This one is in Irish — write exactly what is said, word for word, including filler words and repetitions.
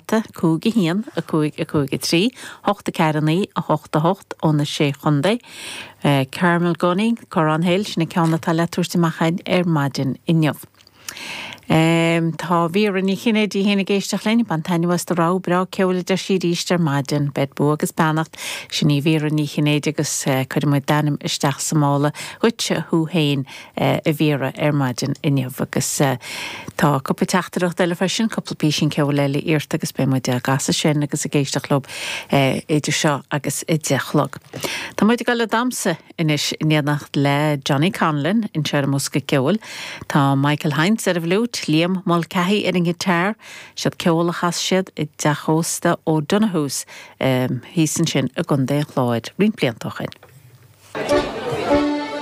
geata cúig a haon a cúig a cúig a trí, hocht a ceathair a naoi a hocht a hocht ó na Sé Chontae. Carmel Gunning, Corrán Hill, sin an ceann atá le tabhairt amach againn ar maidin inniu. Um, tá Vera Ní Chinnéide féin ag éisteacht linn, bain taitneamh as do rogha breá ceoil a deir sí arís ar maidin, beid bua agus beannacht sin í Vera Ní Chinnéide agus uh, cuirfidh muid d'ainm isteach sa mála dhuit thú féin uh, a Vera ar maidin inniu agus uh, tá cúpla teachtaireacht eile freisin, cúpla píosa ceoil eile iarrta agus beidh muid ag casadh sin agus ag éisteacht leo uh, idir seo agus a deich a chlog. Tá muid ag dul ag damhsa anois in éineacht le Johnny Conlon anseo ar an mBosca Ceoil. Tá Michael Heinz ar an bhfliúit, Liam Mulcahy ar an ngiotár, siad ceol a chas siad i dteach ósta O'Donoghue's um, thíos ansin i gContae an Chláir, roinnt blianta ó shin.